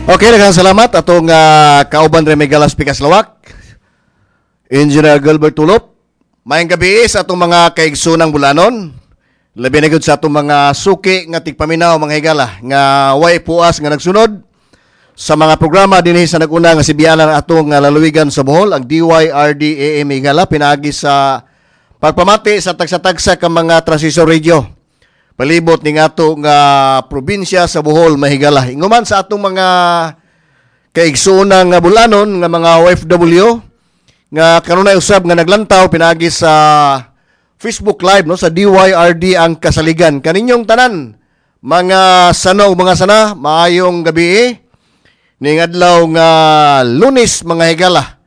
Okay, daghang salamat atong kauban Remy Galas Pikas Lawak, Engineer Gilbert Tulop. Maayong gabi sa atong mga kaigsunang Bulanon. Labi na gyud sa atong mga suki nga tigpaminaw, mga higala, nga way puas nga nagsunod sa mga programa dinhi sa nag-una nga sibianan atong lalawigan sa Bohol, ang DYRD AM, higala, pinaagi sa pagpamati sa tagsa-tagsa ka mga transistor radio palibot ning ato nga probinsya sa Bohol, mahigala. Inguman sa atong mga kaigsuonan nga Bulanon nga mga OFW nga kanunay usab nga naglantaw pinaagi sa Facebook Live, no, sa DYRD ang Kasaligan. Kaninyong tanan, mga sano, mga sana, maayong gabi ning adlaw nga Lunes, mga higala.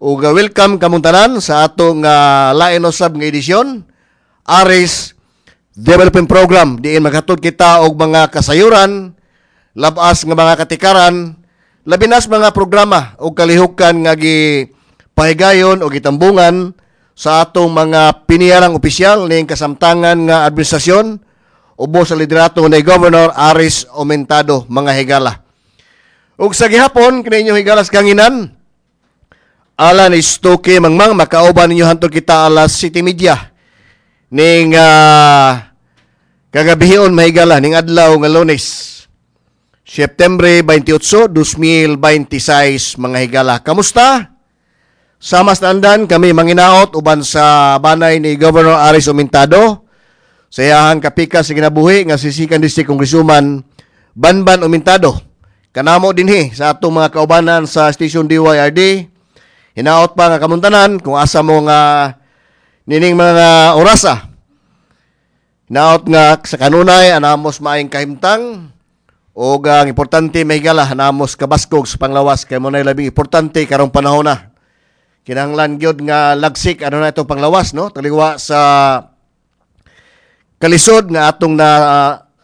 Ug welcome kamong tanan sa atong lain usab nga edisyon, Aris Development Program, diin maghatod kita og mga kasayuran, labas nga mga katikaran, labi nas mga programa og kalihukan nga gi pahigayon o gitambungan sa atong mga piniyarang opisyal ning kasamtangan nga administrasyon ubos sa liderato ni Governor Aris Aumentado, mga higala. Ug sa gihapon kininyo, higalas kanginan, Alan Istoke Mangmang makauban ninyo hantod kita alas 7:30 ning kagabihon, mahigala, ning adlaw nga Lunes, September 28, 2026, mga higala. Kamusta? Sa mas naandan kami manginaot uban sa banay ni Governor Aris Aumentado sa iyahang kapikas sa kinabuhi nga si Second District Congresswoman Banban Aumentado. Kanamo dinhi sa atong mga kaubanan sa Station DYRD, hinaot pa nga kamuntanan kung asa mo nga nining mga orasa. Hinaot nga sa kanunay anamos maayong kahimtang o ang importante, mahigala, anamos kabaskog sa panglawas kay mo na labing importante karong panahon na. Kinahanglan gyud nga lagsik ano na itong panglawas, no, taliwa sa kalisod nga atong na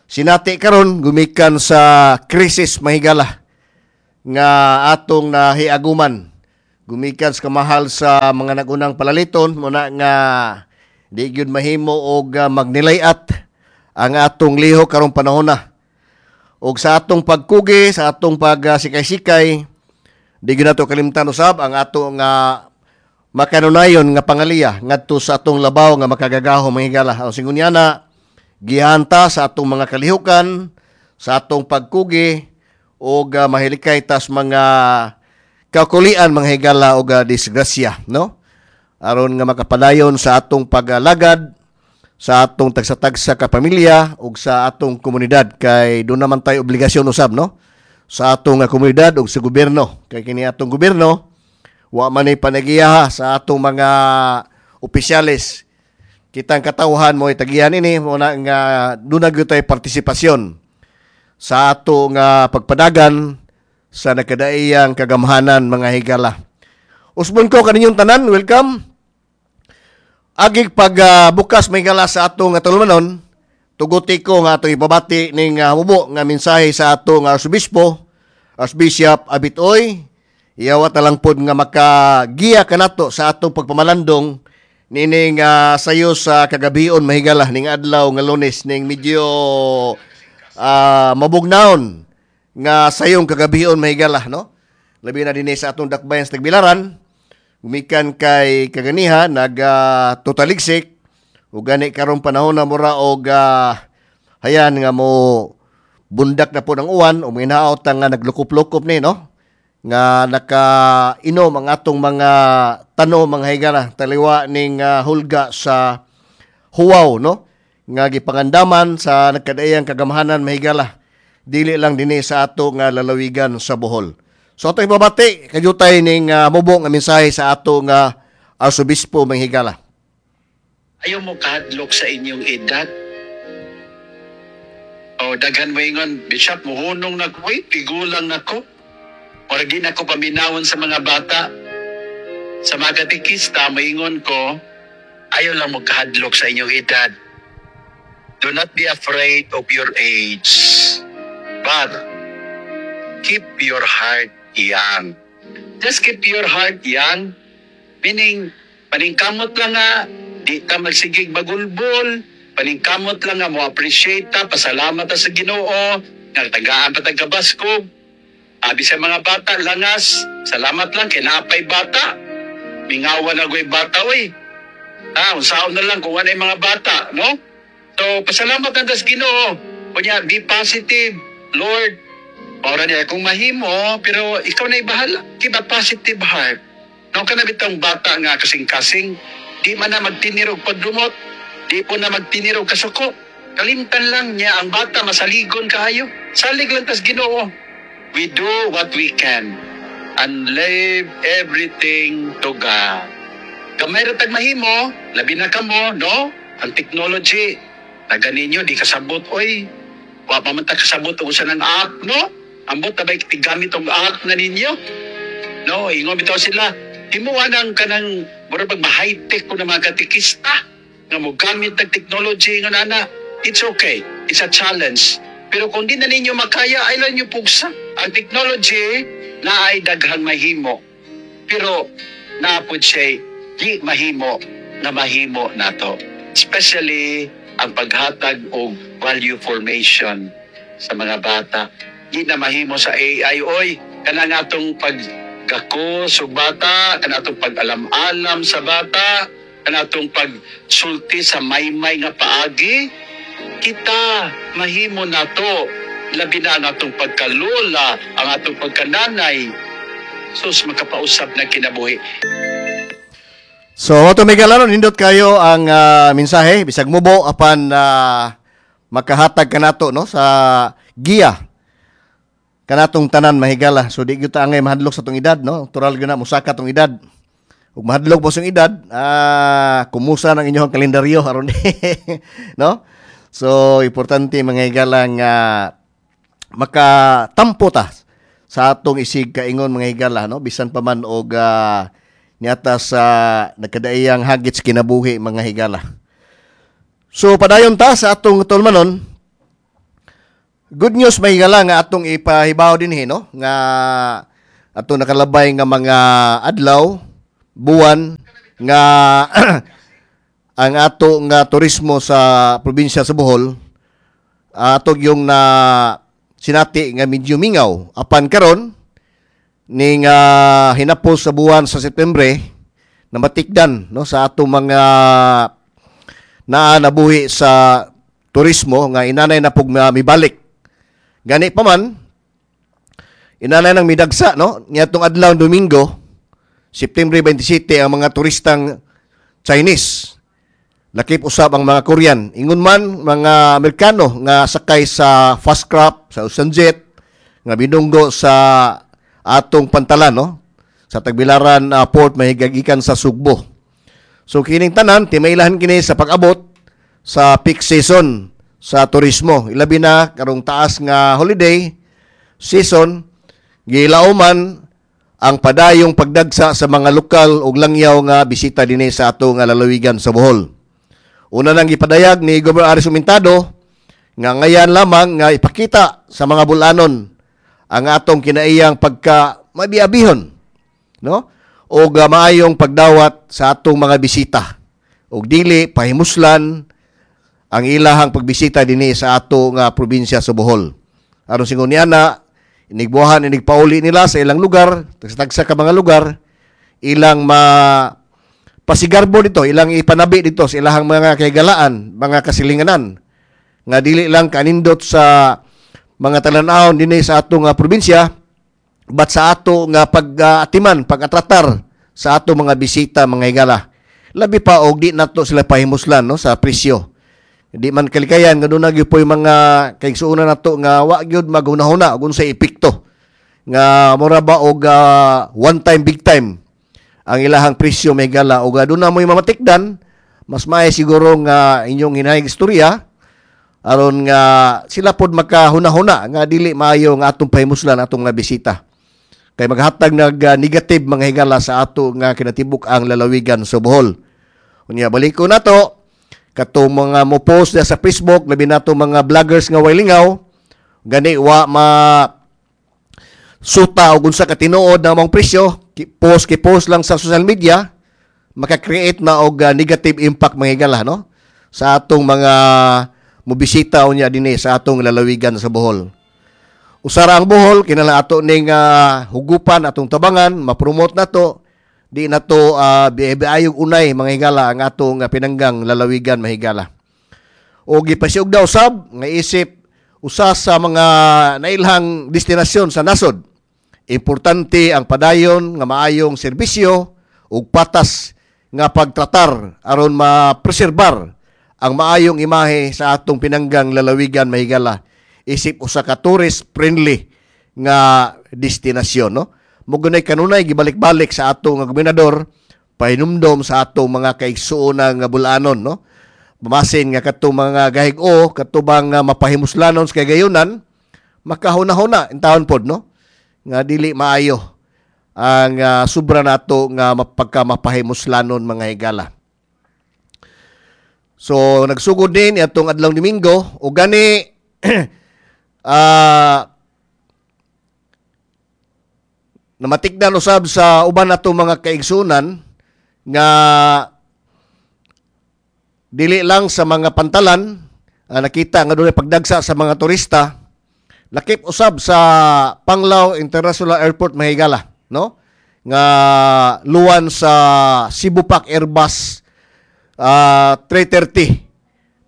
sinati karon gumikan sa krisis, mahigala, nga atong nahiaguman gumikan sa kamahal sa mga nagunang palaliton. Muna nga di gyud mahimo og magnilayat ang atong lihok karong panahon na. Og sa atong pagkugi, sa atong pagsikay-sikay, di gyud nato kalimtan usab ang ato nga makanunayon nga pangaliya ngadto sa atong labaw nga makagagahom, mga higala. Ang singunyana gihanta sa atong mga kalihukan, sa atong pagkugi og mahilikay tas mga kakulian, mga higala, og disgrasya, no, aron nga makapadayon sa atong pagalagad sa atong tagsa-tagsa ka pamilya ug sa atong komunidad, kay doon naman tayo obligasyon usab, no, sa atong komunidad ug sa gobyerno, kay kini atong gobyerno wa man ni panagiyaha sa atong mga opisyales. Kitang katawhan mo tagihan ini. Mo na nga doon na gyud tay partisipasyon sa ato nga pagpadagan sa nakadaiyang kagamhanan, mga higala. Usbon ko kaninyong tanan, welcome. Agig pag bukas, may higala, sa atong nga tulumanon, tuguti ko nga atong ipabati ning mubo nga mensahe sa atong Arsobispo, Archbishop Abitoy. Iyawat na lang pod nga makagiya kanato sa atong pagpamalandong nining sayo sa kagabion, mahigala, ning adlaw nga Lunes, ning medyo mabugnawon nga sayong kagabion, mahigala, no, labi na dinhi sa atong dakbayan sa Tagbilaran gumikan kay kaganiha nag totaligsik ug gani karong panahon na mura og hayan nga mo bundak na po ng uwan o minaot nga naglukop-lukop ni, no, nga nakainom ang atong mga tanom, mga higala, taliwa ning hulga sa huwaw, no, nga gipangandaman sa nagkadaiyang kagamhanan, mahigala, dili lang dinhi sa ato nga lalawigan sa Bohol. So ato ibabati kajutay ning mubo nga mensahe sa ato nga Arsobispo, mga higala. Ayaw mo kahadlok sa inyong edad. O daghan mo ingon, "Bishop, muhunong na ko, uy, tigulang na ko. Murag di na ko paminawon sa mga bata." Sa mga katekista, moingon ko, ayaw lang mo kahadlok sa inyong edad. Do not be afraid of your age. But keep your heart young. Just keep your heart young. Meaning, paningkamot lang nga, di ta magsigig bagulbol, paningkamot lang nga mo appreciate ta, pasalamat ta sa Ginoo, nga tagaan pa tag kabaskog. Abi sa mga bata, langas. Salamat lang kay naapay bata. Mingawa na go'y bata, oy. Ah, unsaon na lang kung ano yung mga bata, no? So, pasalamat na tas Ginoo. Kunya, be positive. Lord, ora niya kung mahimo, pero ikaw na bahala. Keep a positive heart. No, kana bitang bata nga kasing-kasing, di man na magtinirog pagdumot, di po na magtinirog kasuko. Kalimtan lang niya ang bata, masaligon kaayo. Salig lang tas Ginoo. We do what we can and leave everything to God. Gamay ra tag mahimo, labi na kamo, no? Ang technology, na ganinyo, di kasabot, oy. Wa pa man ta kasabot og usa ng app, no? Ambot na ba'y tigamit og app na ninyo? No, ingon bitaw sila. Himuha ng kanang mura pag ma-high-tech ko na mga katikista nga mo gamit ng technology nga nana. It's okay. It's a challenge. Pero kung di na ninyo makaya, ay lang nyo pugsa. Ang technology na ay daghang mahimo. Pero naapod siya di mahimo na mahimo nato. Especially ang paghatag og value formation sa mga bata. Di na mahimo sa AI. Oy, kana nga atong paggakos og bata, kana atong pag-alam-alam sa bata, kana atong pagsulti sa maymay nga paagi, kita mahimo nato. Labi na ang atong pagkalola, ang atong pagkananay. Sus, makapausap na kinabuhi. So, ato may no, nindot kayo ang mensahe bisag mubo apan makahatag kanato, no, sa giya kanatong tanan, mahigala. So di gyud ta angay mahadlok sa tong edad, no? Natural gyud na musaka tong edad. Ug mahadlok mo sa edad, kumusa ng inyong kalendaryo aron, no? So importante, mga higala, nga makatampo ta sa atong isig kaingon, mga higala, no, bisan pa man og niata sa nagkadaiyang hagit sa kinabuhi, mga higala. So padayon ta sa atong tulmanon. Good news, mga higala, nga atong ipahibaw dinhi, no, nga atong nakalabay nga mga adlaw, buwan nga ang ato nga turismo sa probinsya sa Bohol ato yung na sinati nga medyo mingaw, apan karon ning hinapos sa buwan sa Setyembre na matikdan, no, sa ato mga naa nabuhi sa turismo nga inanay na pug mibalik. Gani pa man inanay nang midagsa, no, niadtong adlaw Domingo, September 27, ang mga turistang Chinese, lakip usab ang mga Korean, ingon man mga Amerikano nga sakay sa fast craft, sa Ocean Jet nga binunggo sa atong pantalan, no, sa Tagbilaran Port, mahigagikan sa Sugbo. So kining tanan timailahan kini sa pag-abot sa peak season sa turismo, ilabi na karong taas nga holiday season. Gilauman ang padayong pagdagsa sa mga lokal ug langyaw nga bisita dinhi sa ato nga lalawigan sa Bohol. Una nang gipadayag ni Governor Aris Sumintado nga ngayan lamang nga ipakita sa mga bulanon ang atong kinaiyang pagka mabiabihon, no, og maayong pagdawat sa atong mga bisita ug dili pahimuslan ang ilahang pagbisita dinhi sa ato nga probinsya sa Bohol. Aron singon niya na inigbuhan, inigpauli nila sa ilang lugar, tagsa ka mga lugar, ilang ma pasigarbo dito, ilang ipanabi dito sa ilahang mga kahigalaan, mga kasilinganan, nga dili lang kanindot sa mga talan-awon dinhi sa ato nga probinsya, but sa ato nga pag-atiman, pag-atratar sa ato mga bisita, mga higala. Labi pa og di nato sila pahimuslan, no, sa presyo. Di man kalikayan nga doon na gyud po'y mga kaigsuonan nato nga wa gyud maghunahuna og unsay epekto nga mura ba og one time big time ang ilahang presyo, may gala, og doon na mo'y mamatikdan. Mas maay siguro nga inyong hinahig istorya aron nga sila pod makahuna-huna nga dili maayo nga atong pahimuslan atong mga bisita kay maghatag nag negative, mga higala, sa ato nga kinatibuk ang lalawigan sa Bohol. Unya balik ko nato katong mga mo post sa Facebook, labi nato mga vloggers nga way lingaw gani, wa ma suta og unsa ka tinuod na mong presyo, post ki post lang sa social media, maka-create na og negative impact, mga higala, no, sa atong mga mobisita unya dinhi sa atong lalawigan sa Bohol. Usara ang Bohol, kinahanglan ato ning hugupan, atong tabangan, ma-promote nato, di na to biayog unay, mga higala, ang atong pinanggang lalawigan, mahigala. O gipasiugda daw sab nga isip usa sa mga nailhang destinasyon sa nasod. Importante ang padayon nga maayong serbisyo ug patas nga pagtratar aron mapreserbar ang maayong imahe sa atong pinanggang lalawigan, mahigala, isip usa ka tourist friendly nga destinasyon, no? Mo gunay kanunay gibalik-balik sa atong nga gobernador pahinumdom sa atong mga kaigsuonan nga bulanon, no? Mamasin nga katong mga gahig-o katubang mapahimuslanon sa kagayunan, makahuna-huna intawon pod, no, nga dili maayo ang sobra nato nga mapagka mapahimuslanon, mga higala. So nagsugod din atong adlaw Domingo o gani namatikdan usab sa uban nato mga kaigsunan nga dili lang sa mga pantalan nakita nga dunay pagdagsa sa mga turista, lakip usab sa Panglao International Airport, mahigala, no, nga luwan sa Cebu Pac Airbus 330,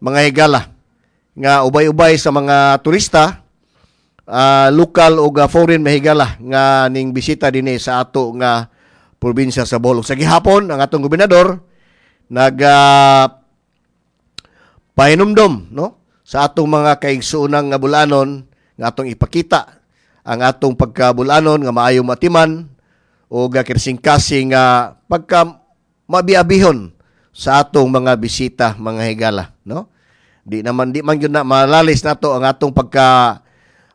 mga higala, nga ubay-ubay sa mga turista, lokal o foreign, mahigala, nga ning bisita dinhi sa ato nga probinsya sa Bohol. Sa gihapon ang atong gobernador nag pahinumdom, no, sa atong mga kaigsuonang nga bulanon nga atong ipakita ang atong pagkabulanon nga maayong matiman o kirsing-kasing nga pagka mabiabihon sa atong mga bisita, mga higala, no? Di man gyud na malalis nato ang atong pagka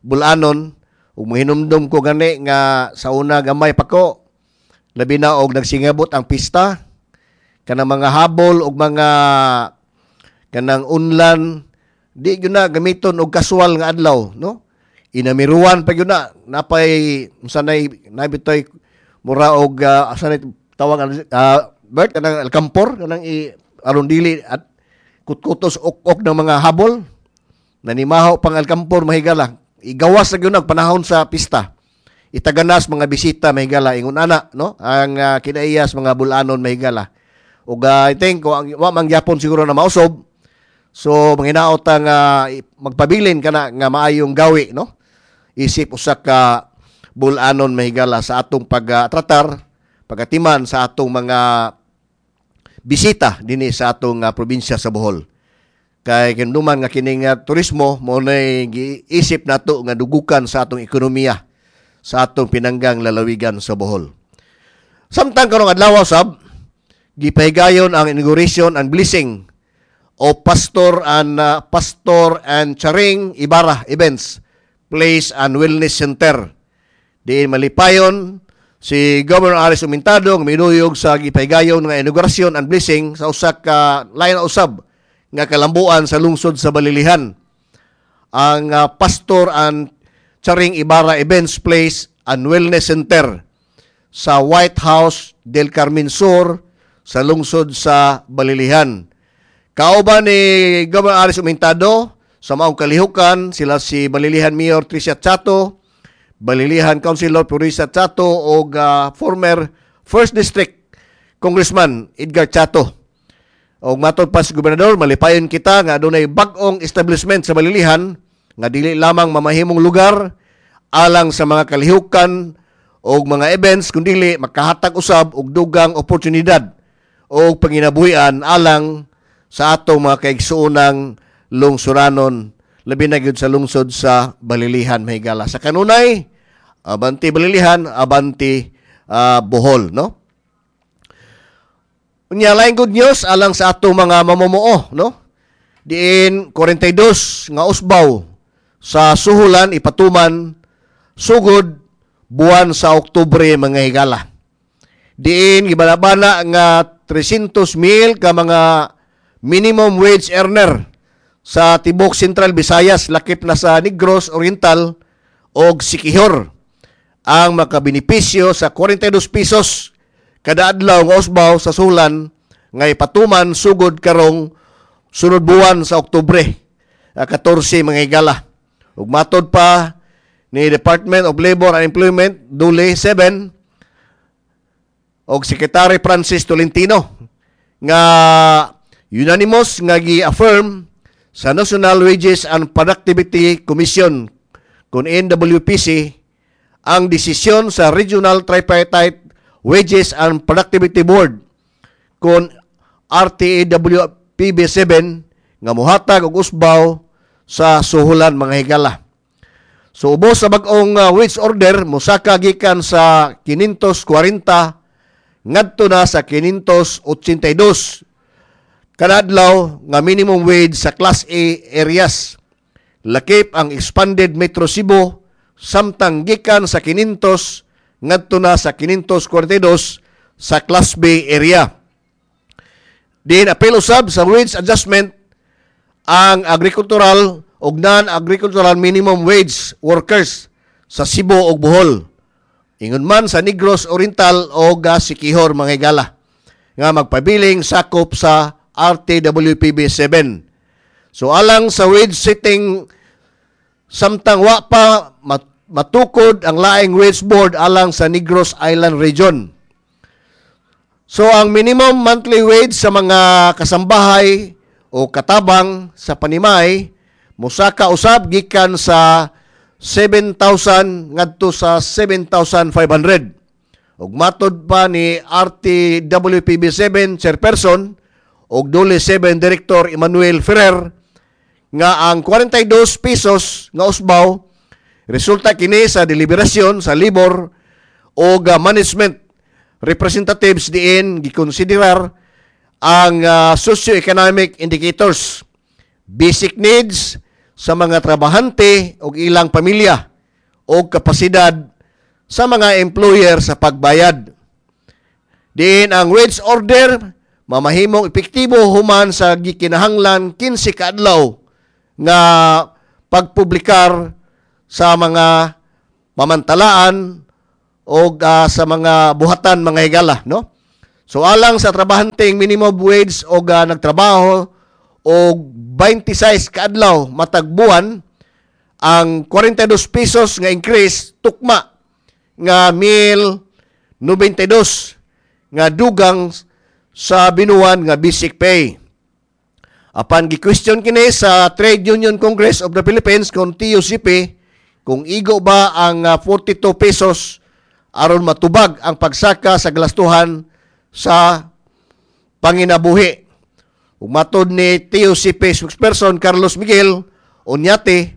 bulanon. Ug mohinumdum ko gani nga sa una gamay pa ko, labi na og nagsingabot ang pista, kanang mga habol og mga kanang unlan, di gyud na gamiton og kasual nga adlaw, no? Inamiruan pa gyud na, napay sanay nabitoy mura og sanay tawag Bert, kanang alkampor, kanang i aron dili at kutkutos ok-ok ng mga habol, nanimaho pang alkampor, mahigala, igawas na gyud panahon sa pista, itaganas mga bisita, mahigala. Ingon ana, no, ang kinaiyas mga bulanon, mahigala. Ug I think ang wa man gyapon siguro na mausob, so manginaot ang magpabilin kana nga maayong gawi, no, isip usa ka bulanon, mahigala, sa atong pagtratar, pagatiman sa atong mga bisita dinhi sa atong probinsya sa Bohol. Kay kinuman nga kining turismo mo nay giisip nato nga dugukan sa atong ekonomiya sa atong pinanggang lalawigan sa Bohol. Samtang karong adlaw sab gipahigayon ang inauguration and blessing o Pastor and Charing Ibarra Events Place and Wellness Center. Diin malipayon si Governor Aris Umintado nga minuyog sa gipahigayon nga inaugurasyon and blessing sa usa ka lain na usab nga kalambuan sa lungsod sa Balilihan. Ang Pastor and Charing Ibarra Events Place and Wellness Center sa White House del Carmen Sur sa lungsod sa Balilihan. Kauban ni Governor Aris Umintado sa maong kalihukan sila si Balilihan Mayor Tricia Chato, Balilihan Councilor Purisa Chato og former First District Congressman Edgar Chato. Og matod pa sa gobernador, malipayon kita nga adunay bag-ong establishment sa Balilihan nga dili lamang mamahimong lugar alang sa mga kalihukan og mga events kundili makahatag usab og dugang oportunidad og panginabuhian alang sa atong mga kaigsuonang lungsuranon, labi na gyud sa lungsod sa Balilihan, mahigala. Sa kanunay, abanti Balilihan, abanti Bohol, no? Unya, laing good news alang sa atong mga mamumuo, no? Diin 42 nga usbaw sa suhulan ipatuman sugod buwan sa Oktubre, mga higala. Diin gibanabana nga 300 mil ka mga minimum wage earner sa tibok Central Visayas, lakip na sa Negros Oriental og Siquijor, ang makabenepisyo sa 42 pesos kada adlaw nga usbaw sa sulan nga ipatuman sugod karong sunod buwan sa Oktubre 14, mga higala. Ug matod pa ni Department of Labor and Employment, DOLE 7, og Secretary Francis Tolentino nga unanimous nga gi-affirm sa National Wages and Productivity Commission kon NWPC ang desisyon sa Regional Tripartite Wages and Productivity Board kon RTAWPB 7 nga muhatag og usbaw sa suhulan, mga higala. So ubos sa bag-ong wage order, mosaka gikan sa 540 ngadto na sa 582 kada adlaw nga minimum wage sa Class A areas. Lakip ang expanded Metro Cebu, samtang gikan sa 500 ngadto na sa 542 sa Class B area. Diin apil usab sa wage adjustment ang agricultural ug non-agricultural minimum wage workers sa Cebu ug Bohol. Ingon man sa Negros Oriental o Siquijor, mga higala, nga magpabiling sakop sa RTWPB 7. So alang sa wage setting samtang wa pa matukod ang laing wage board alang sa Negros Island Region. So ang minimum monthly wage sa mga kasambahay o katabang sa panimay mosaka usab gikan sa 7,000 ngadto sa 7,500. Ug matod pa ni RTWPB 7 chairperson ug DOLE 7 Director Emmanuel Ferrer nga ang 42 pesos nga usbaw resulta kini sa deliberasyon sa labor o management representatives diin gikonsiderar ang socio-economic indicators, basic needs sa mga trabahante ug ilang pamilya o kapasidad sa mga employer sa pagbayad. Diin ang wage order mamahimong epektibo human sa gikinahanglan 15 ka adlaw nga pagpublikar sa mga pamantalaan o sa mga buhatan, mga higala, no? So alang sa trabahanteng minimum wage o nagtrabaho og 26 ka adlaw matag buwan, ang 42 pesos nga increase tukma nga 1,092 nga dugang sa binuwan nga basic pay. Apan gi-question kini sa Trade Union Congress of the Philippines kon TUCP kung igo ba ang 42 pesos aron matubag ang pagsaka sa galastuhan sa panginabuhi. Ug matod ni TUCP spokesperson Carlos Miguel Oñate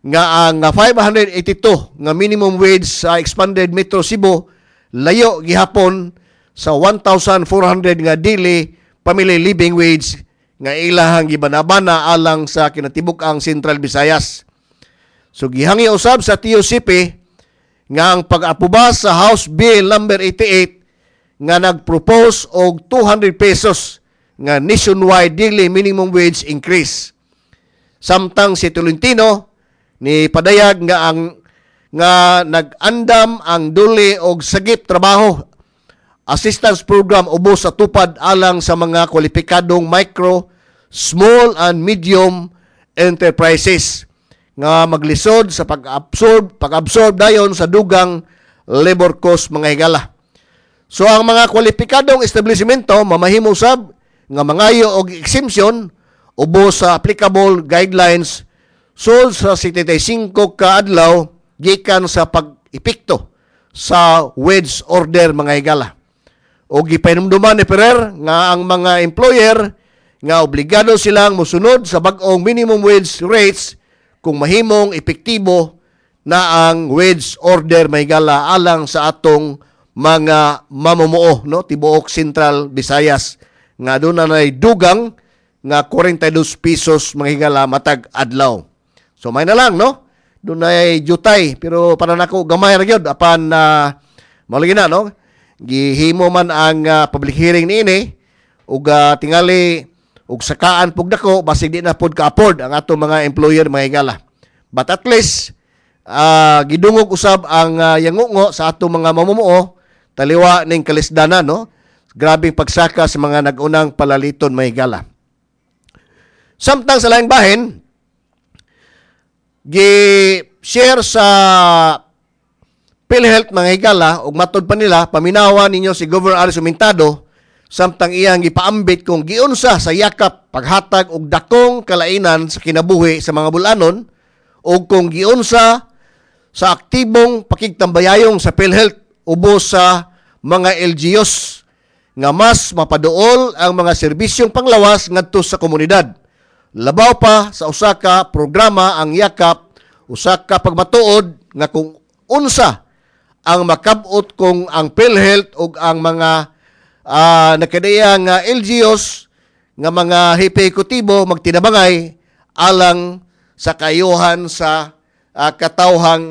nga ang 582 nga minimum wage sa expanded Metro Cebu layo gihapon sa 1,400 nga daily family living wage nga ilahang gibanabana alang sa kinatibuk-ang Central Visayas. So gihangi usab sa TUCP nga ang pag-aproba sa House Bill number 88 nga nag-propose og 200 pesos nga nationwide daily minimum wage increase. Samtang si Tolentino ni padayag nga ang nga nag-andam ang DOLE og Sagip Trabaho Assistance Program ubos sa tupad alang sa mga kwalipikadong micro, small and medium enterprises nga maglisod sa pag-absorb dayon sa dugang labor cost, mga higala. So ang mga kwalipikadong establishmento mamahimo sab nga mangayo og exemption ubos sa applicable guidelines sul sa 75 ka adlaw gikan sa pag-epekto sa wage order, mga higala. O gipahinumduman ni Ferrer nga ang mga employer nga obligado silang mosunod sa bag-ong minimum wage rates kung mahimong epektibo na ang wage order, mga higala, alang sa atong mga mamumuo, no, tibuok Central Visayas nga doon na nay dugang nga 42 pesos, mga higala, matag adlaw. So may na lang, no, doon ay jutay, pero para nako gamay ra gyud, apan mao lagi na, no, gihimo man ang public hearing niini ug tingali ug sakaan pug dako, basig di na pud ka-afford ang atong mga employer, mga higala. But at least gidungog usab ang yangungo sa atong mga mamumuo taliwa ning kalisdanan, no, grabing pagsaka sa mga nag-unang palaliton, mga higala. Samtang sa laing bahin, gi Gi-share sa PhilHealth, mga higala, ug matod pa nila, paminawa ninyo si Governor Aris Umintado samtang iyang gipaambit kung giunsa sa Yakap paghatag og dakong kalainan sa kinabuhi sa mga bulanon ug kung giunsa sa aktibong pakigtambayayong sa PhilHealth ubos sa mga LGUs nga mas mapaduol ang mga serbisyong panglawas ngadto sa komunidad. Labaw pa sa usa ka programa ang Yakap, usa ka pagmatuod nga kung unsa ang makabot kung ang PhilHealth ug ang mga nakadaya nga LGUs nga mga hepe ehekutibo magtinabangay alang sa kayuhan sa katawhang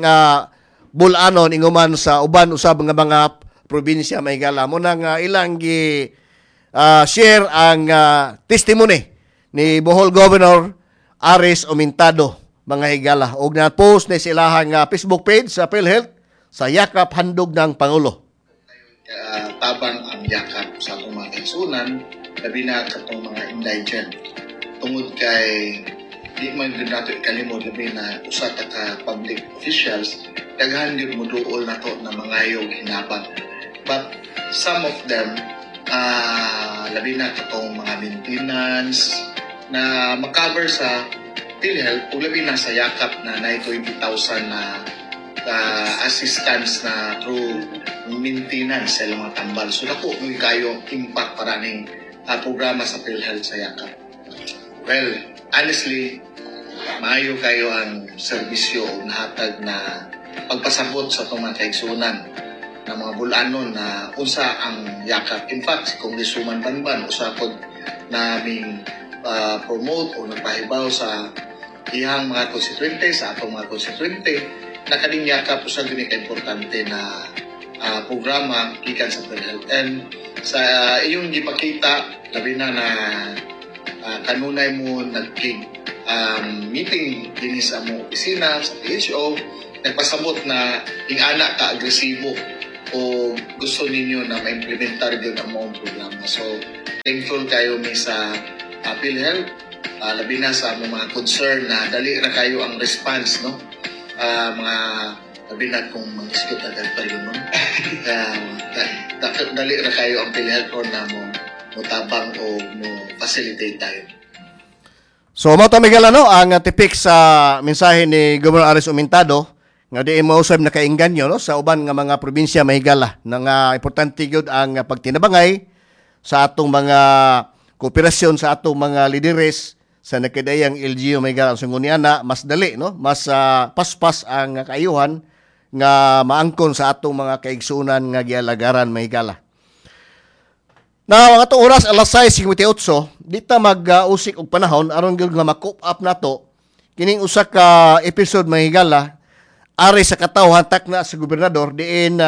bulanon inguman sa uban usab nga mga probinsya, mga higala. Mo na nga ilang gi share ang testimony ni Bohol Governor Aris Omintado, mga higala, og na-post ni sila nga Facebook page sa PhilHealth sa Yakap Handog ng Pangulo. Tabang ang Yakap sa atong mga kaigsuonan, labi na katong mga indigent, tungod kay di man gyud nato ikalimod, labi na usa ta ka public officials, daghan gyud moduol nato na mangayog hinabang, but some of them, labi na katong mga maintenance na makover sa PhilHealth ug labi na sa Yakap na naay 20,000 na assistance na through maintenance sa ilang mga tambal. So dako gyud kayo impact para ning programa sa PhilHealth sa Yakap. Well, honestly, maayo kayo ang serbisyo o nahatag na pagpasabot sa atong mga kaigsuonan na mga bulanon na unsa ang Yakap. In fact, si Congresswoman Banban usa pod naming promote o nagpahibaw sa iyang mga konstituente, sa atong mga konstituente, na kaning Yakap usa gyud ni ka-importante na programa gikan sa PhilHealth. And sa iyong gipakita, labi na na kanunay mo nagkig meeting dinhi sa among opisina sa PHO, nagpasabot na ing-ana ka agresibo o gusto ninyo na ma-implementar gyud ang maong programa. So thankful kayo mi sa PhilHealth, labi na sa among mga concern na dali ra kayo ang response, no? Mga labi na kung mag-isgot agad pa yun, no? Dali ra kayo ang PhilHealth ron na mo motabang o mo facilitate tayo. So mao to, Miguel, ano, ang tipik sa mensahe ni Governor Aris Umintado nga di mo usab nakainganyo, no, sa uban nga mga probinsya, mahigala, na nga importante gyud ang pagtinabangay sa atong mga kooperasyon sa atong mga lideres sa nakadayang LGU, mahigala. So ngunyan na mas dali, no, mas paspas ang kaayuhan nga maangkon sa atong mga kaigsuonan nga gialagaran, mahigala. Na ang atong oras alas 6:58, di ta mag-usik og panahon aron gyud nga ma-cope up nato kining usa ka episode, mahigala, ari sa katawhan takna sa gobernador diin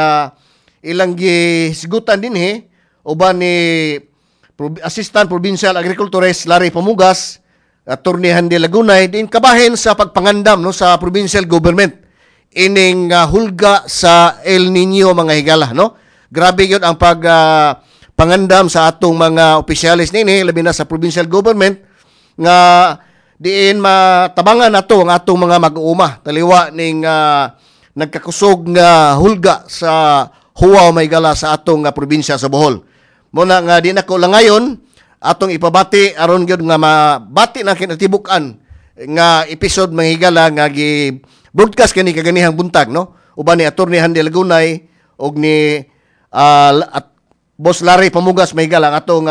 ilang gisgutan dinhi uban ni Assistant Provincial Agriculturist Larry Pamugas, Attorney Handy Lagunay, diin kabahin sa pagpangandam, no, sa provincial government ining hulga sa El Nino, mga higala, no? Grabe gyud ang pag pangandam sa atong mga opisyalis nini, labi na sa provincial government, nga diin matabangan nato ang atong mga mag-uuma taliwa ning nagkakusog nga hulga sa huwaw, mahigala, sa atong probinsya sa Bohol. Mo na nga di nako lang ngayon atong ipabati aron gyud nga mabati na kinatibuk-an nga episode, mga higala, nga gi broadcast kani kaganihang buntag, no, uban ni Attorney Handy Lagunay og ni at Boss Larry Pamugas, mahigala, ang atong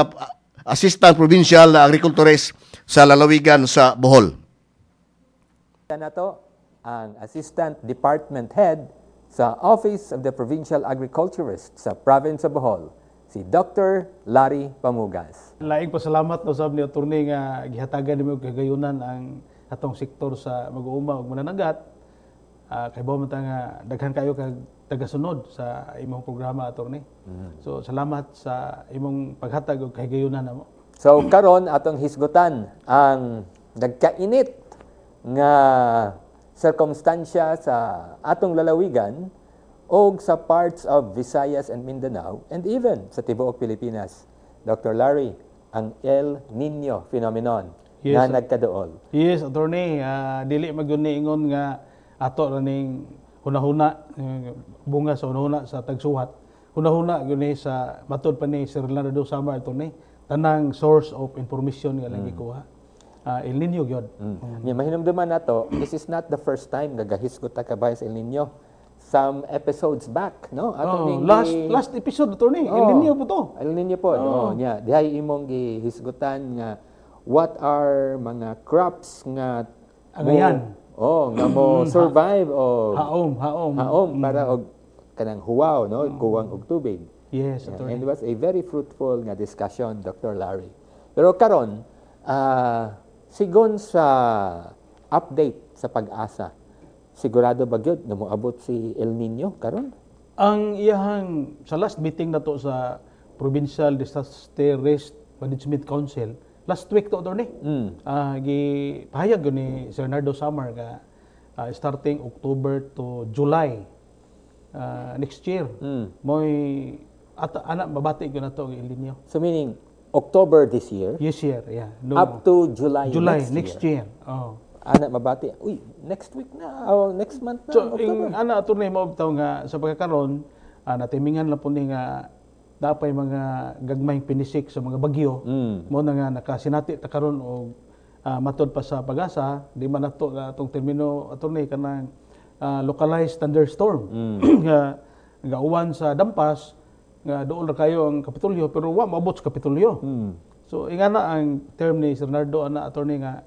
Assistant Provincial Agriculturist sa lalawigan sa Bohol. Nato ang Assistant Department Head sa Office of the Provincial Agriculturist sa Province of Bohol, si Dr. Larry Pamugas. Laing pasalamat na usab ni attorney nga gihatagan nimo og kagayunan ang atong sektor sa mag-uuma ug mananagat. Kay man ta nga daghan kayo kag tagasunod sa imong programa, attorney. So salamat sa imong paghatag og kahigayunan namo. So karon atong hisgutan ang nagkainit nga sirkumstansya sa atong lalawigan og sa parts of Visayas and Mindanao and even sa tibuok Pilipinas. Dr. Larry, ang El Nino phenomenon nga nagkaduol. Yes, attorney, dili man gyud ni ingon nga ato ra ning hunahuna, bunga sa hunahuna sa tagsuhat. Hunahuna gyud ni sa matod pa ni Sir Leonardo Samar, attorney, tanang source of information nga lang gikuha. El Nino gyud. Nya mahinumduman nato, this is not the first time nga gahisgot ta kabahin sa El Nino. Some episodes back, no? Ato Oh, ning last last episode, attorney, El Oh. Nino po to. El Nino po, oh. Nya, dihay imong gihisgutan nga what are mga crops nga Angayan. Oh, nga mo survive o Haom, haom. Haom para og kanang huwaw, no? Kuwang og tubig. Yes, Yeah, attorney. and it was a very fruitful nga discussion, Dr. Larry. Pero karon, sigon sa update sa PAGASA, sigurado ba gyud nga moabot si El Nino karon? Ang iyahang sa last meeting na to sa Provincial Disaster Risk Management Council last week to, attorney. Gi pahayag gyud ni Sir Nardo Samar nga starting October to July next year mo'y ata ana mabati gyud nato ang El Nino. So meaning October this year Yes year, yeah. No. up to July, July next, next year. year. Oh. Ana mabati. Uy, next week na o next month na, So, October. ing ana, attorney, mo bitaw nga sa pagkakaron, natimingan lang po ni nga dapay mga gagmayng pinisik sa mga bagyo. Mo na nga nakasinati ta karon og matod pa sa PAGASA, di man nato na atong termino, attorney, kanang localized thunderstorm nga gauwan sa dampas nga dool ra kayo ang Kapitolyo pero wa maabot sa Kapitolyo. So ingana ang term ni Sir Nardo ana, attorney, nga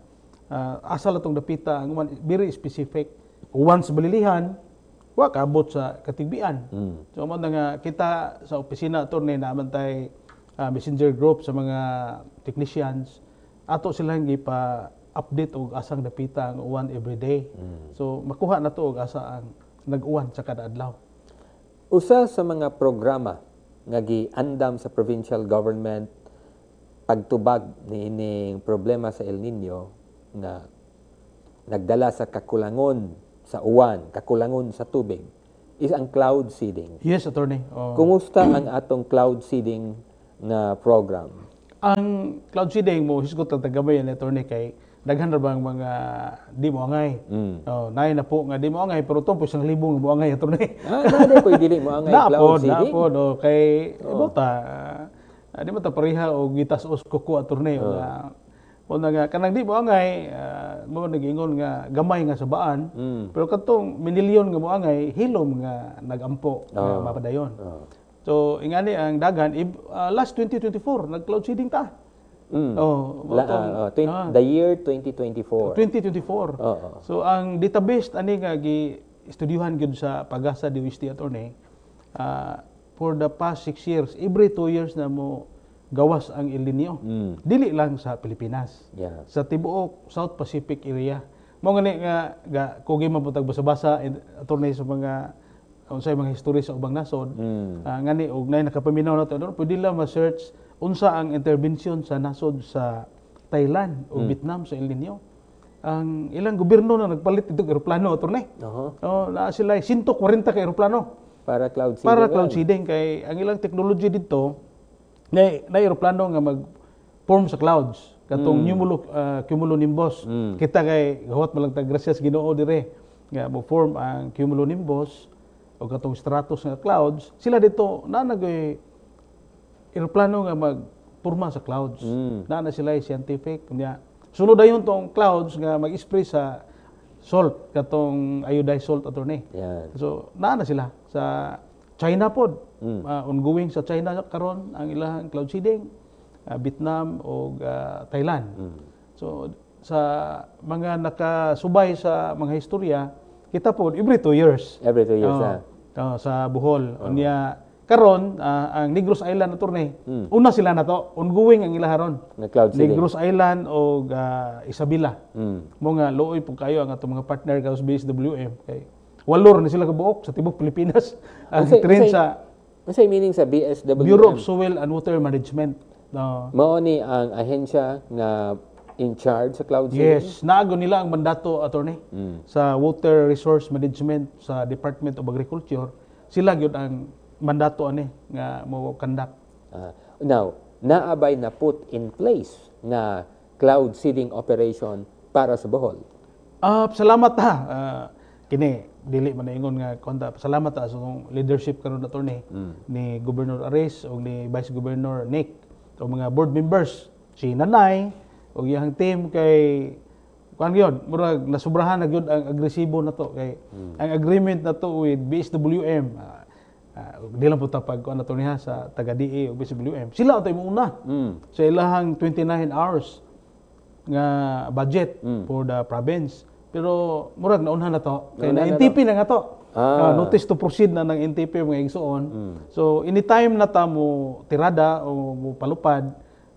asa la tong dapita ang uwan, very specific. Uwan sa Balilihan, wa kaabot sa Katigbian. So mo na nga kita sa opisina, attorney, na tay messenger group sa mga technicians, ato silang gipa update og asang dapita ang uwan every day. So makuha na to og asa ang nag-uwan sa kada adlaw. Usa sa mga programa nga giandam sa provincial government pagtubag niining problema sa El Nino nga nagdala sa kakulangon sa uwan, kakulangon sa tubig, is ang cloud seeding. Yes, attorney. Oh. Kumusta ang atong cloud seeding na program? Ang cloud seeding mo hisgot lang tagamay yan, attorney, kay daghan ra bang mga di mo angay. Oh, naay na po nga di mo angay pero to po 1,000 nga mo angay, attorney. Ah, naa po dili mo angay Na cloud po, na seeding. po, no, kay oh. Ta di mo ta pareha og gitas-os kuko, attorney. Oh. O na nga kanang di mo angay, mo nagingon nga gamay nga sabaan, pero katong minilyon nga mo angay, hilom nga nagampo nga mapadayon. So ingani ang dagan last 2024 nag cloud seeding ta. Oh, mao tong- The year 2024. 2024. Oo. So ang database ani nga gi estudyuhan gyud sa PAGASA DOST, attorney, for the past 6 years, every 2 years na mo gawas ang El Nino. Dili lang sa Pilipinas. Sa tibuok South Pacific area. Mo ngani nga ga kugi man pud tag basa-basa, attorney, sa mga unsay mga history sa ubang nasod. Ngani og nay nakapaminaw nato, ano, pwede lang ma-search unsa ang intervention sa nasod sa Thailand o Vietnam sa El Nino. Ang ilang gobyerno na nagpalit itong eroplano, attorney. Oh, naa sila 140 ka eroplano Para cloud seeding para cloud lang. seeding kay ang ilang technology dito na eroplano nga mag form sa clouds katong cumulonimbus. Kita kay gawat man lang tag grasya sa Ginoo dire nga mo form ang cumulonimbus o katong stratus nga clouds. Sila dito na nagoy eroplano nga mag forma sa clouds. Na sila ay scientific nya. Sunod dayon tong clouds nga mag-spray sa salt, katong iodized salt, attorney. Yan. So, naa na sila sa China pod. Ongoing sa China karon ang ilang cloud seeding, Vietnam o Thailand. So, sa mga nakasubay sa mga istorya, kita pod every 2 years. Every 2 years, Oo. ah. Oo, sa Bohol. Unya karon ang Negros Island, attorney. Una sila na to, ongoing ang ilaha ron. Na cloud seeding. Negros Island o Isabela. Mo nga luoy pud kayo ang atong mga partner ka sa BSWM kay walor ni sila kabuok sa tibuok Pilipinas ang train sa Unsay meaning sa BSWM? Bureau of Soil and Water Management. No. Mao ni ang ahensya nga in charge sa cloud seeding? Yes, naago nila ang mandato, attorney, sa Water Resource Management sa Department of Agriculture. Sila gyud ang mandato ani nga mo conduct. Now, naabay na put in place na cloud seeding operation para sa Bohol? Ah, salamat ha. Kini dili man ingon nga konta, salamat ta sa atong leadership karon, attorney, ni Governor Aris o ni Vice Governor Nick o mga board members, si Nanay o iyang team, kay kuan gyud, murag nasubrahan na gyud ang agresibo na to, kay ang agreement na to with BSWM, di lang po ta pag kuan na to niya sa taga DA o BSWM, sila ang una sa ilahang 29 hours nga budget for the province. Pero murag naunhan na to. Kay na Naunhan na. NTP na nga to. Notice to proceed na ng NTP, mga igsoon. So anytime na ta mo tirada o mo palupad,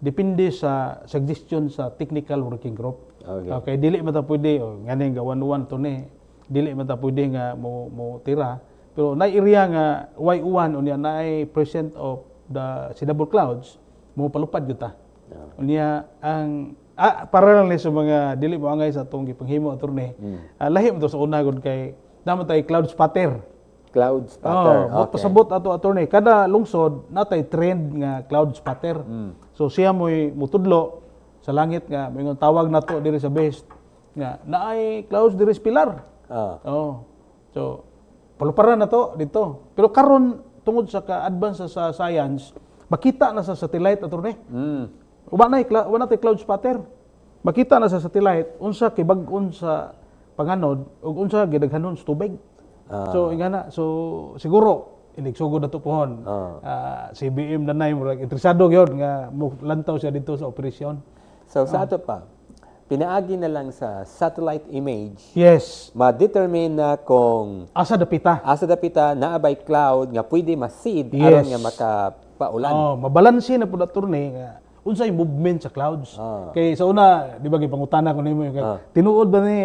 depende sa suggestion sa technical working group. Okay, dili man ta pwede o nganing ga 1-1 to ni. Dili man ta pwede nga mo mo tira. Pero naay area nga way uwan, unya naay present of the seedable clouds, mo palupad gyud ta. Unya ang para lang ni sa mga dili mo angay sa atong gipanghimo, attorney. Lahi mo to sa una gud kay naa man tay cloud spotter. Cloud spotter. Oh, pasabot ato, attorney. Kada lungsod natay trend nga cloud spotter. So siya mo'y mutudlo sa langit nga moingon, tawag nato diri sa base nga naay clouds diri sa Pilar. Oh. So paluparan na to dito. Pero karon, tungod sa ka-advance sa science, makita na sa satellite, attorney. Wa na tay cloud spotter. Makita na sa satellite unsa kibag-on sa panganod ug unsa gidaghanon sa tubig. So ingana, so siguro inigsugod na to pohon. CBM na murag interesado gyud nga mo lantaw siya dito sa operasyon. So sa ato pa, pinaagi na lang sa satellite image, ma-determine na kung Asa dapita. Asa dapita, naa bay cloud nga pwede ma-seed aron nga makapaulan. Oh, mabalanse na pud, attorney, nga unsay movement sa clouds. Kay sa una, di ba gipangutana ko nimo yung tinuod ba ni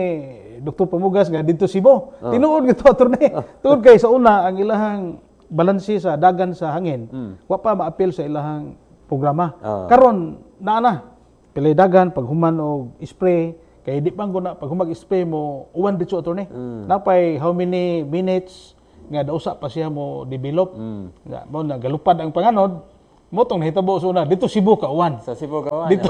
Dr. Pamugas nga didto Cebu? Tinuod gito, attorney. Tungod kay sa una, ang ilahang balanse sa dagan sa hangin, wa pa maapil sa ilahang programa. Karon naa na. Pilay dagan paghuman og spray, kay di pa na pag humag spray mo uwan dito, attorney. Napay how many minutes nga dausa pa siya mo develop. Nga mo na galupad ang panganod mo tong nahitabo sa una didto Cebu ka uwan. Sa Cebu gawa. Didto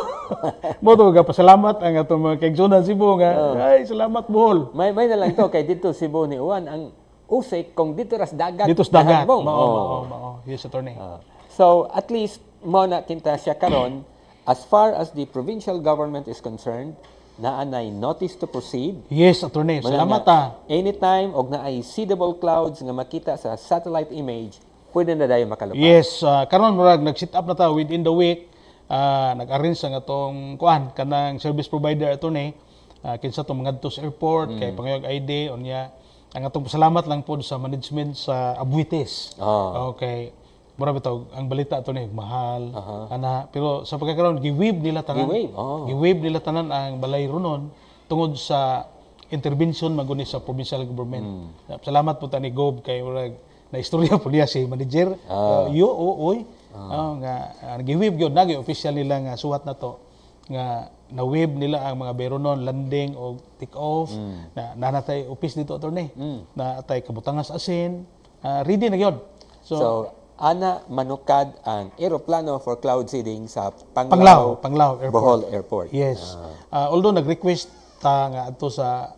mo to pasalamat ang atong mga kaigsunan Cebu nga ay salamat, Bohol. May na lang to kay didto Cebu ni uwan ang usik kung didto ras dagat. Didto sa dagat. Nahagbong. Mao, mao, mao. Yes, attorney. So at least mo na kinta siya karon, as far as the provincial government is concerned, naa nay notice to proceed. Yes, attorney. Muna Salamat nga, ah. anytime og naay seedable clouds nga makita sa satellite image, pwede na dayon makalupad. Yes, karon murag nag-set up na ta within the week. Nag-arrange ang atong kuan kanang service provider, attorney, kinsa tong mangadto sa airport kay pangayog ID. Unya ang atong pasalamat lang pod sa management sa Aboitiz. Okay. Mura bitaw ang balita, attorney, mahal ana, pero sa pagkakaroon gi-waive nila tanan. Gi-waive, oh. Gi-waive nila tanan ang balay runon tungod sa intervention maguni sa provincial government. Salamat po ta ni Gob kay murag na istorya po niya si manager. Yo o oy. Nga gi-waive gyud na official nila nga suwat na to nga na-waive nila ang mga Beronon landing o take off na nanatay office dito, attorney. Na atay kabutangas asin. Ready na gyud. So, So, ana manukad ang eroplano for cloud seeding sa Panglao, Panglao, Panglao Airport. Bohol Airport. Yes. Although nag-request ta nga adto sa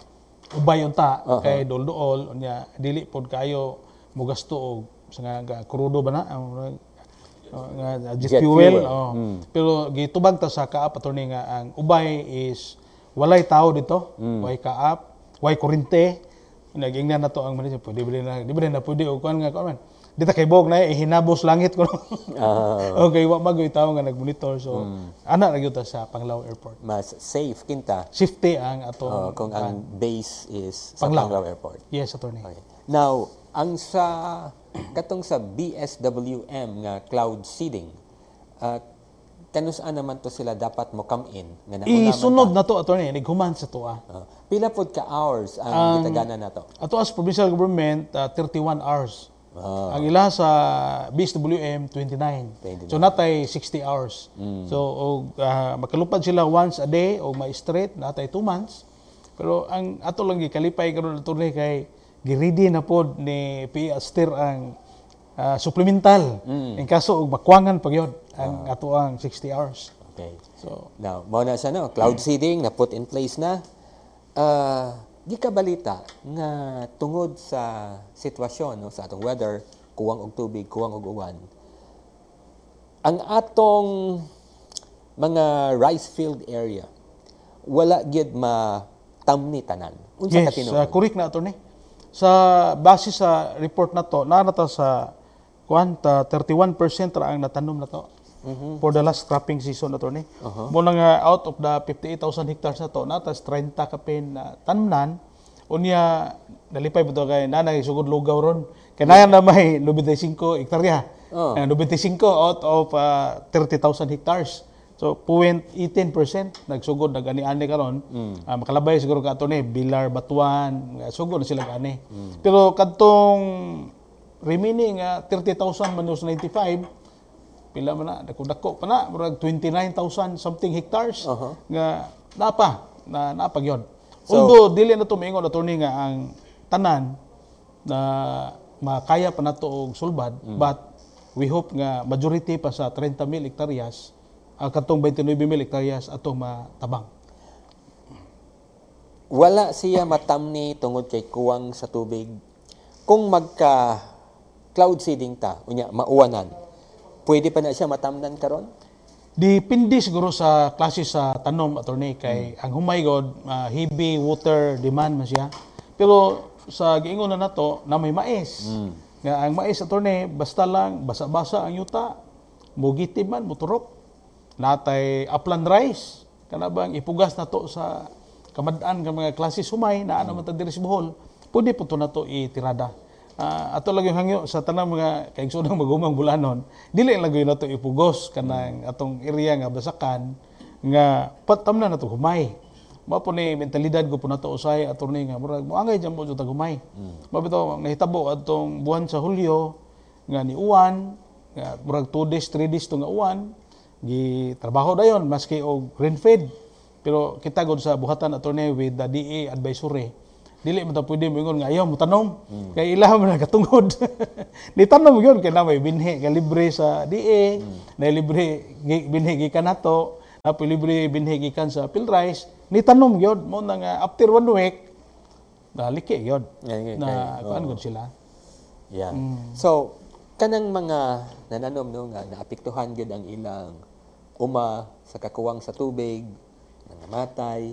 Ubay unta kay duol-duol, unya dili pod kayo mugasto og sa nga krudo ba na ang nga jet, Jet fuel. fuel. Oh. Pero gitubag ta sa CAAP, attorney, nga ang Ubay is walay tao dito, way CAAP, way kurente. Nagingnan na to ang manager, pwede ba na, di ba na pwede og kuan nga kuan man. Di ta kay bog na ihinabos langit ko. Okay, wa magoy tao nga nagmonitor. So ana ra gyud ta sa Panglao Airport. Mas safe kinta Safety ang atong kung ang base is sa Panglao. Panglao Airport. Yes, attorney. Okay. Now, ang sa katong sa BSWM nga cloud seeding, kanus-a naman to sila dapat mo come in nga nauna man? Isunod na to, attorney, nighuman sa tuwa. Pila pod ka hours ang gitagana na to? Ato as provincial government, 31 hours. Ang ila sa BSWM, 29. 29. So natay 60 hours. So og makalupad sila once a day o ma-straight natay 2 months. Pero ang ato lang gikalipay karon, attorney, kay giready na pod ni PA Aster ang supplemental in kaso og makwangan pag yun ang ato ang 60 hours. Okay. So Now, mao na siya, no? Cloud seeding na put in place na. Gikabalita nga tungod sa sitwasyon, no, sa atong weather, kuwang og tubig, kuwang og uwan, ang atong mga rice field area wala gyud matamni tanan. Unsa ka Yes, tinuod? Correct na, attorney. Sa base sa report na to, naa ta sa kuan ta 31% ra ang natanom na to for the last cropping season, attorney. Mo na nga out of the 58,000 hectares na to, naa tas 30 kapin na tanmnan. Unya nalipay ba to kay nanay sugod lugaw ron. Kay naa na may 95 hektarya. 95 out of 30,000 hectares. So 0.18% nagsugod nag-ani-ani karon. Makalabay siguro ka, attorney, Bilar, Batuan, nga sugod na sila ani. Pero kadtong remaining 30,000 minus 95, pila man na? Dako-dako pa na, murag 29,000 something hectares nga napa na napa gyud. So- Although dili na to moingon, attorney, nga ang tanan na makaya pa nato og sulbad, but we hope nga majority pa sa 30 mil hektaryas, katong 29 mil hektaryas atong matabang. Wala siya matamni tungod kay kuwang sa tubig. Kung magka cloud seeding ta, unya mauwanan, pwede pa na siya matamnan karon? Depende siguro sa klase sa tanom, attorney, kay ang humay god, heavy water demand man siya. Pero sa giingon na nato na may mais. Nga ang mais, attorney, basta lang basa-basa ang yuta, mugitib man, muturok. Natay upland rice, kana bang ipugas nato sa kamad-an nga mga klase humay naa naman ta diri sa Bohol, pwede po to nato itirada. Ato lang yung hangyo sa tanang mga kaigsoonang mag-umang Bol-anon, dili lang gyud nato ipugos kanang atong area nga basakan nga patamnan nato humay. Mao po ni mentalidad ko po nato usay, attorney, nga murag moangay dyan po jud humay. Mao bitaw ang nahitabo adtong buwan sa Hulyo nga ni uwan nga murag 2 days, 3 days to nga uwan, gi trabaho dayon maski og rain fed. Pero kita gud sa buhatan, attorney, with the DA advisory, dili man ta pwede moingon nga ayaw mo tanom kay ilaha man nakatungod. Ni tanom gyud kay na may binhi nga libre sa DA, na libre binhi gikan nato, na libre binhi gikan sa PhilRice, ni tanom gyud mo na nga after one week na liki gyud na kuan gud sila. So, kanang mga nananom, no, nga naapektuhan gyud ang ilang uma sa kakuwang sa tubig, nangamatay,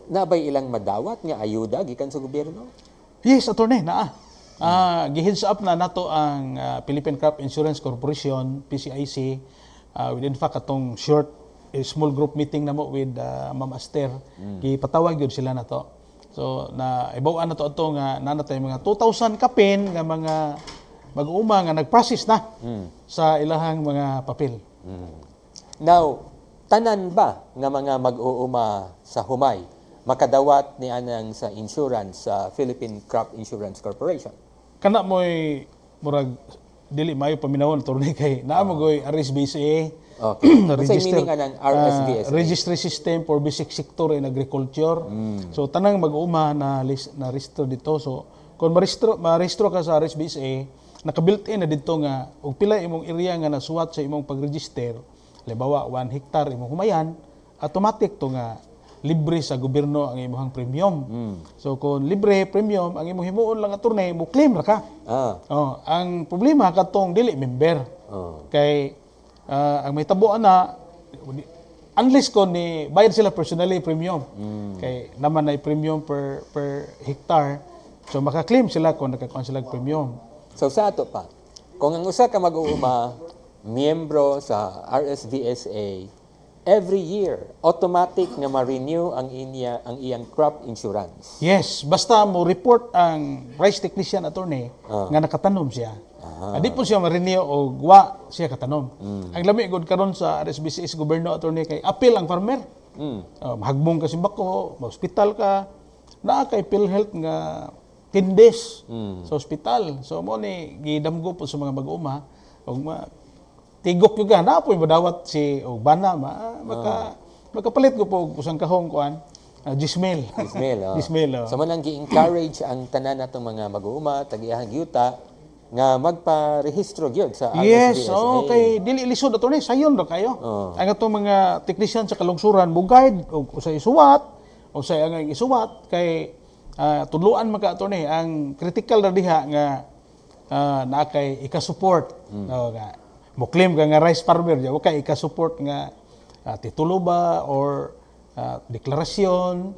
nabay ilang madawat nga ayuda gikan sa gobyerno? Yes, attorney, naa. Gi-heads up na nato ang Philippine Crop Insurance Corporation, PCIC, with in fact atong short small group meeting namo with Ma'am Aster, gipatawag gyud sila nato. So na ibaw-an nato ato nga naa natay mga 2,000 kapin nga mga mag-uuma nga nag-process na sa ilahang mga papel. Now, tanan ba nga mga mag-uuma sa humay makadawat ni anang sa insurance sa Philippine Crop Insurance Corporation? Kana mo'y murag dili maayo paminawon, attorney, kay naa mo goy RSBSA. Unsay meaning anang RSBSA? Registry System for Basic Sector in Agriculture. So tanang mag-uuma na list, na rehistro dito. So kung marehistro ka sa RSBSA, naka-built-in na dito nga og pila imong area nga nasuwat sa imong pag-register, halimbawa 1 hectare imong humayan, automatic to nga libre sa gobyerno ang imong premium. So kung libre premium, ang imong himuon lang, attorney, mo claim ra ka. Oh, ang problema katong dili member. Kay ang may tabuan na unless ko ni bayad sila personally premium. Kay naman ay premium per per hectare. So maka-claim sila kung nakakuha sila og premium. So sa ato pa, kung ang usa ka mag-uuma miyembro sa RSVSA, every year automatic nga ma-renew ang iyang crop insurance? Yes, basta mo report ang rice technician, attorney, nga nakatanom siya. Di po siya ma-renew og wa siya katanom. Ang lami gud karon sa RSBCS gobyerno, attorney, kay apil ang farmer. Mahagbong ka simbako, ma-hospital ka, naa kay PhilHealth nga 10 days sa ospital. So mo ni gidamgo po sa mga mag-uma og tigok gyud ka na po madawat si og bana ma, maka makapalit ko po og usang kahong kuan Gismel. Gismel, oh. Gismel, oh. So man ang gi-encourage ang tanan natong mga mag-uuma, tag-iyahang yuta nga magparehistro gyud sa RSVSA. Yes, oh, kay dili lisod, attorney, sayon ra kayo. Ang atong mga technician sa kalungsuran mo guide og usay isuwat, o say ang isuwat kay Tudluan man ka, attorney, ang critical na diha nga naa kay ika-support. No, nga mo claim ka nga rice farmer wa kay ika-support nga titulo ba or deklarasyon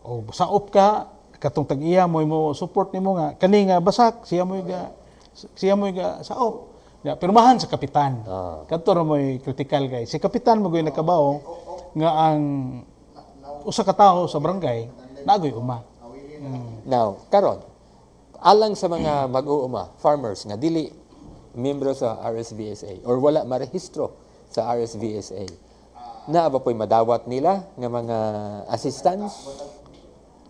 o saop ka katong tag-iya mo mo support nimo nga kani nga basak siya mo ga saop. Ya, pirmahan sa kapitan. Kadto ra mo'y critical kay si kapitan mo goy nakabaw nga ang usa ka tawo sa barangay naa goy uma. Now, karon, alang sa mga mag-uuma, farmers nga dili miyembro sa RSVSA or wala marehistro sa RSVSA, naa ba po'y madawat nila nga mga assistance?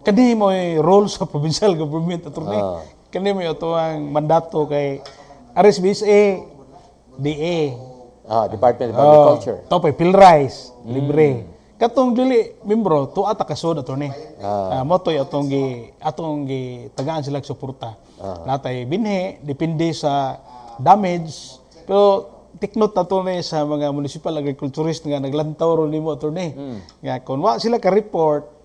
Kani mo'y role sa provincial government, attorney. Kani mo'y ato ang mandato kay RSVSA, DA. Department of Agriculture. Oh, to pay PhilRice, libre. Katong dili membro, tuwa ta kasod, attorney. Mo to'y atong gi tagaan sila og suporta. Natay binhi, depende sa damage. Pero take note na ni sa mga municipal agriculturist nga naglantaw ron nimo, attorney. Nga kung wa sila ka-report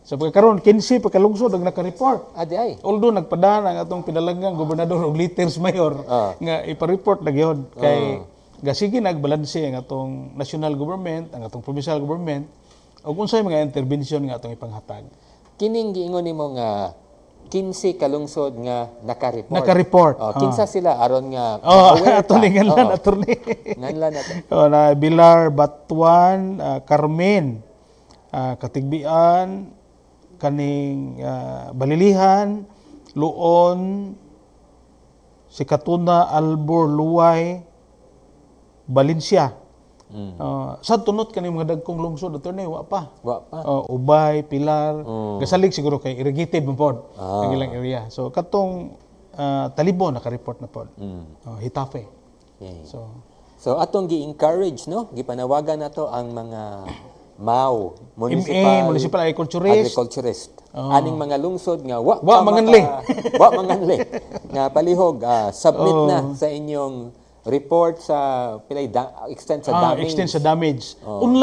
sa pagkakaroon, 15 pa kalungsod ang naka-report. Ah, di ay. Although nagpadaan ang atong pinalanggang gobernador og letters mayor nga ipa-report na gyud kay gasige nagbalanse ang atong national government, ang atong provincial government ug unsay mga intervention nga atong ipanghatag. Kining giingon nimo nga 15 kalungsod nga naka-report. Naka-report. Oh, kinsa sila aron nga Oh, aware ato ka? ni nganlan, attorney. Nganlan nato. Oh, na Bilar, Batuan, Carmen, Catigbian, kaning Balilihan, Loon, Sikatuna, Albur, Loay, Valencia. Sa tunot kani mga dagkong lungsod, attorney, wa pa. Wa pa. Oh, Ubay, Pilar, gasalig siguro kay irrigated man pod ang ilang area. So katong Talibon naka-report na pod. Oh, Getafe. So So atong gi-encourage, no, gipanawagan nato ang mga MAO, municipal, MA, municipal agriculturist. Agriculturist. Aning mga lungsod nga wa Wa pa manganli. Wa manganli. Nga palihog submit na sa inyong report sa pilay extent sa Ah, damage. extent sa damage. Online